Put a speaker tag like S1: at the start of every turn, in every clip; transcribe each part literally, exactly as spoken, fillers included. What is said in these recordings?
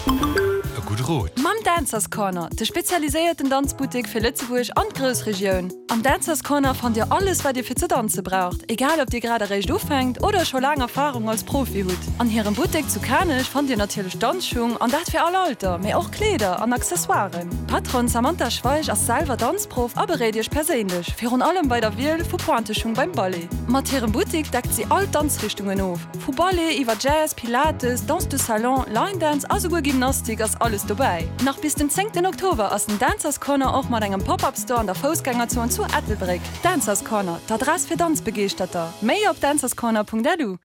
S1: E gudde Rot.
S2: Mam Dancers Corner, de spezialiséierten Danzbuttek fir Lëtzebuerg an d'Groussregioun. Am Dancers Corner fannt Dir alles, wat Dir fir ze danze braucht, egal ob Dir grad eréischt ufänkt oder scho laang Erfarung als Profi hutt. An hirem Buttek zu Kanech fannt Dir natierlech Danzschung, an dat fir all Alter, mee och Kleeder an Accessoiren. D'Patronne Samantha Schweich ass selwer Danzprof a beréit Iech perséinlech, virun allem bei der Wiel vu Pointeschung beim Ballet. Mat hirem Buttek deckt si all Danzrichtungen of, vu Ballet iwwer Jazz, Pilates, Danse de Salon, Line Dance a souguer Gymnastik ass alles dobäi. Nach bis den zéngten Oktober ass den Dancers Corner och mat engem Pop-Up Store an der Foussgängerzon zu Ettelbréck. Dancers Corner, d'Adress fir Danzbegeeschterter. Méi op dancerscorner.lu.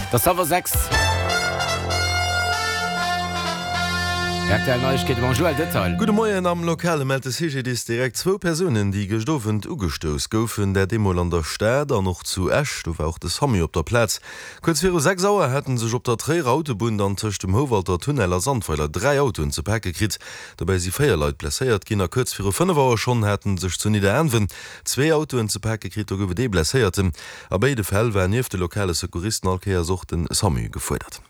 S3: Et ass hallwer sechs. Rtl Neiegkeete mam Joël Detail.
S4: Gudde Moien, Am Lokale mellt de CGDIS direkt zwou Persounen, déi gëscht Owend ugestouss goufen. Dat eemol an der Stad an och zu Esch. Do war och de Samu op der Plaz. Kuerz viru sechs Auer hätte sech op der Tréierer Autobunn dann tëscht dem Houwalter Tunnel a Sandweiler dräi Autoen ze pake kritt. Dobäi si véier Leit blesséiert ginn. A kuerz viru fënnef Auer schonn hate sech zu Nidderaanwen zwee Autoen ze pake kritt. Do gouf et ee Blesséierten. A béide Fäll war nieft de lokale Secouristen all Kéiers och de Samu gefuerdert.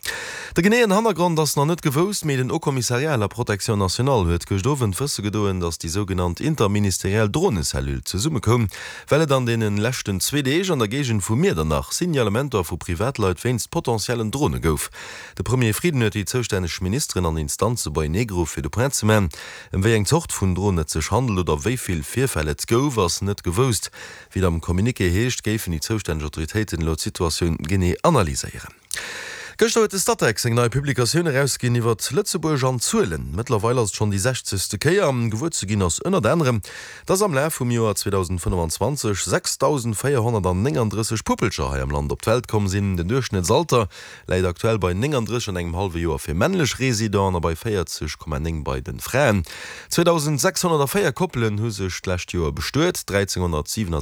S4: De geneeën Hannergrond ass nach net gewousst, mee den Haut Commissariat à la Protection nationale huet gëscht Owend wësse gedoen, datt déi sougenannt interministeriell Dronecellule zesummekoum, well et an deene leschten zwee Deeg an der Géigend vu Miedernach Signalementer vu Privatleit wéinst potentiellen Drone gouf. De Premier Frieden huet déi zoustänneg Ministeren an Instanze beienee geruff, fir de Point ze man. Ëm wéi eng Zort vun Dron et sech handelt oder wéi vill Virfäll et gouf, ass net gewousst. Wéi et am Communiqué heescht, géifen déi zoustänneg Autoritéiten elo d'Situatioun genee analyséieren. Gëschter huet de Statec seng nei Publikatioun erausginn iwwert Lëtzebuerg an Zuelen. Mëttlerweil ass et schonn déi sechzegste Kéier. Gewuer ze ginn ass ënnert anerem, dass am Laf vum Joer zweedausendfënnefanzwanzeg sechsdausendvéierhonnertnénganddrësseg Puppelcher hei am Land op d'Welt komm sinn. Den Duerchschnëttsalter läit aktuell bei nénganddrësseg an engem hallwe Joer fir männlech Residenten a bei véierzeg Komma néng bei de Fraen. zweedausendsechshonnertvéier Koppelen hu sech d'lescht Joer bestuet, dräizénghonnertsiwenasechzeg